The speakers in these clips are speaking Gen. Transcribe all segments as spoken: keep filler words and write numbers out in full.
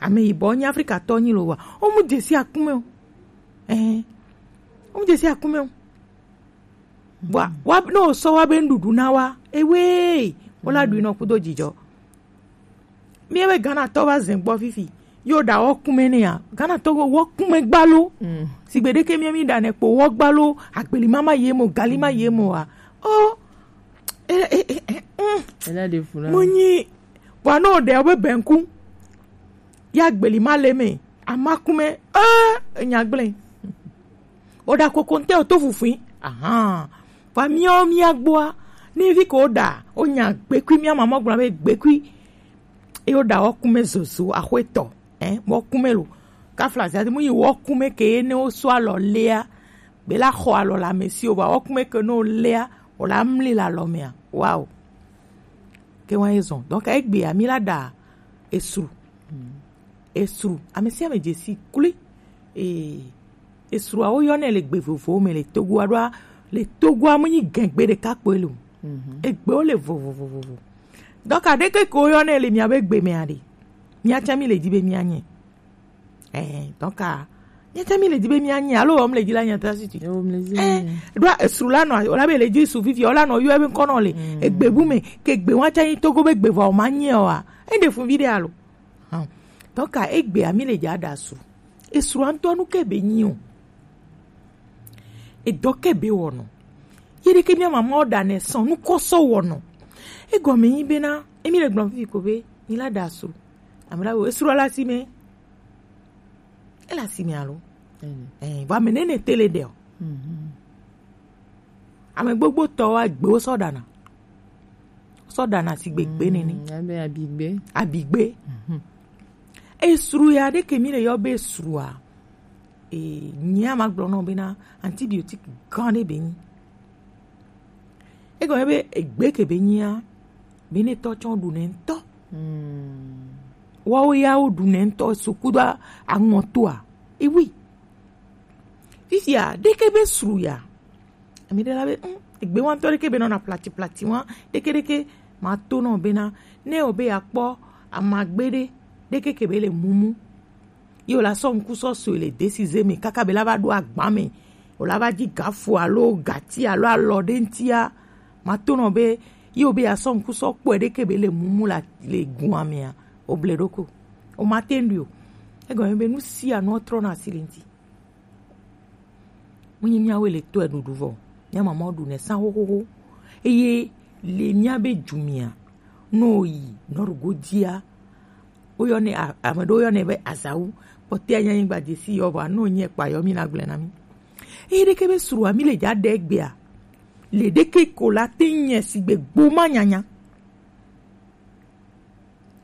Ame yibɔ nyi Afrika tɔ nyi lo wa. O mu jesi akume o. Eh. O mu jesi akume o. Wa wa no so wa be ndudu na wa. Ewe. Wala du no kudo jijo. Mi e be Ghana tɔ va zen gbɔ fifi. Yo da wɔ kume ne ya. Ghana tɔ wɔ kume gbalo. Sigbe ɖeke mi mi da ne kpo wɔ gbalo. Agbeli mama ye mo, gali ma ye mo wa. Oh. Eh, eh, eh, eh, mm. Ela de funa. Mo nyi. Wa no de obe benku. Ya gbeli ma le me. Amakume. Eh, nyagble. O da kokonte o to fufui. Aha. Wa mi o mi agboa. Ni vi ko da. O nya gbekui mi ama mo gbla be gbekui. E o da o kume zozo ahweto. Eh, mo kume lo. Ka flazi ati mu yi wo kume ke ne o so alɔ lea. Be la xɔ alɔ la me si o ba wo kume ke no lea. O la mli la lɔ mea. Wow. Ke wa ezɔn. Donc egbe ami la da esru. Esru. Ame si ame jesi kuli. Eh, esru awo yɔ ne le gbe vovo me le Togo aɖoa. Le Togo amu nyi gɛgbe ɖeka kpoe lo. Egbe wo le vovovovovo. Donc aɖeke ko yɔ ne le mia be gbe me aɖe. Mia tsa mi le di be mia nye. Eh, donc a, mia tsa mi le di be mia nye. Alo wɔm le di la nya ta si ti. Yo, mi le di Eh, nye. Ɖoa esru la nɔ, o la be le di su fifi, o la nɔ yɔ ebe ŋkɔ nɔ le. Egbe bu me, ke gbe wa tsa yi Togo be gbe vɔ o ma nye o a. E de fun vi de alo. Hã. Donc a egbe ami le dza da su. Esrua ŋutɔ nu ke be nyi o. Edɔ ke be wɔnɔ. Ye ɖeke mia mama o da ne sɔn nu kɔ sɔ wɔnɔ. Egɔme nyi bena, emi le gblɔm fifi ko be, ni la da su. Amela wo esrua la si me. Ela si me alo. Eh, va me nene tele de o. Ame gbogbo tɔ wa gbe wo sɔ dana. Sɔ dana si gbe gbe nene. Abe abigbe. Abigbe. Esru ya ɖe ke mi le yɔ be esrua. E nyia ma gblɔ nɔ bena antibiotique gan ɖe be nyi. Egɔme be egbe ke be nyia be ne tɔ tsɔ ɖu ne ŋutɔ. Wawo ya wo ɖu ne ŋutɔ so kudo aŋɔtoa. Ewi. Fifia ɖeke be sru ya. Ami ɖe la be mm, egbe wa ŋutɔ ɖeke be nɔna plati plati wa ɖeke ɖeke ma to nɔ bena ne o be ya kpɔ amagbe ɖe ɖeke ke be le mumu. Ye o la sɔ ŋku sɔ so le desize me kaka be la va ɖo agba me. O la va dzi gafu alo gati alo alɔ ɖe ŋtia. Ma to nɔ be ye o be ya sɔ ŋku sɔ kpɔe ɖeke be le mumu la le gua mea. O ble ɖoko. O ma te ŋɖi o. Egɔme be nu sia nu trɔna asi le ŋti. Munyi miawoe le tɔe ɖuɖu vɔ. Mia mamawo ɖu nɛ san xoxoxo. Eye le mia be dzu mia, no yi nɔɖugo dzia. Woyɔ nɛ a- ame ɖewo yɔ nɛ be azawu. Kpɔtɛa nya nyigba dzesi yɔ vɔa no nye kpa yɔ mi na gblẽ na mi. Eye ɖeke be srua mi le dza ɖe egbea. Le ɖeke ko la te nye sigbe gbo ma nyanya.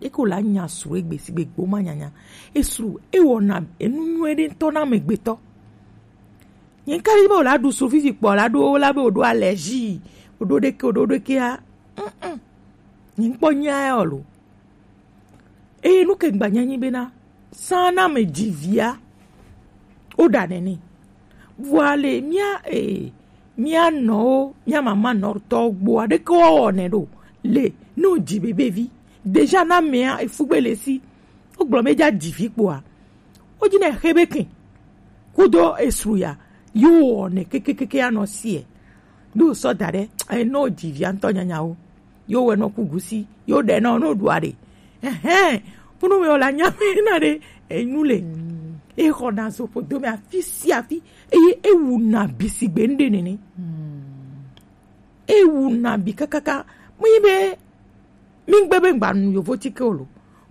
Eko la nya sru egbe sigbe gbo ma nyanya. Esru ewɔna enu nyuie ɖe ŋutɔ na amegbetɔ. Nye ŋka ɖi be wòla ɖu sru fifi kpɔ la ɖo la be wòɖo allergie, wòɖo ɖeke, wòɖo ɖekea. Mm-mm. Nye ŋkpɔ nya ya o lo. Eye nu ke ŋgba nya nyi bena, san na ame dzi via, woɖa nɛ nɛ. Vɔa le mía, eh, mía nɔwo, mía mama nɔtɔwo gbɔa, ɖeke woawɔ nɛ ɖo. Le, ne wodzi bebevi, déjà na amea, efugbe le si. Wogblɔ be dza dzi vi kpɔa, wodzi nɛ xe be ke. Kudo esru ya, yewo wɔ nɛ kekekeke anɔ sie. Ne wosɔ da ɖe, eh, ne wodzi via ŋutɔ nyanyawo. Yo wɛ nɔ ku gusi, yo ɖe nɔ no ɖua ɖe. Ɛhɛn, kunu mi o la nya mi na ɖe, enu le. E xɔ na zo ƒodo me afi si afi, eye ewu na bi sigbe ŋɖe nene. Ewu na bi kakaka, mu yi be, mi ŋgbe be ŋgba nu yovo tike o lo.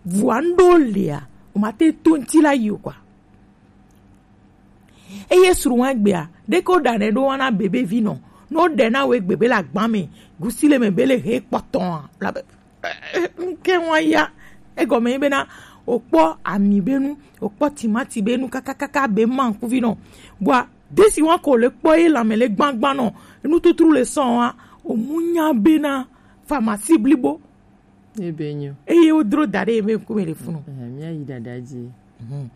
Vua ŋɖo lea, o ma te to ŋti la yi o kwa. Eye srɔ̃a gbea, ɖeke woɖanɛ ɖo wana bebe vi nɔ. Ne woɖe na wo egbe be le agba me, gusi le me be le he kpɔtɔa, la be, eh, eh, ŋke wa ya. Egɔme ye bena, wokpɔ ami be nu, wokpɔ timati be nu, kakakaka be ma ŋkuvi nɔ. Bua, desi wa ko le kpɔ ye lãme le gbagba nɔ, nututru le sɔn wa, o mu nya bena, pharmacie blibo. Ebe nyo. Eye wodro da ɖe eme ŋkume le funu. Eh, mía yi dada dzi. Mhm.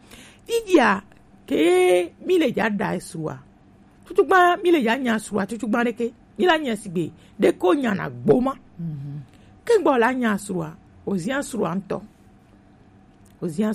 Fidia ke mi le dza da esrua. Tutugba mi le dza nya srua tutugba ɖeke. Mi la nya sigbe ɖeko nya na gboma. Mhm. Ke gbɔ la nya srua, ozia srua ŋutɔ. Ozia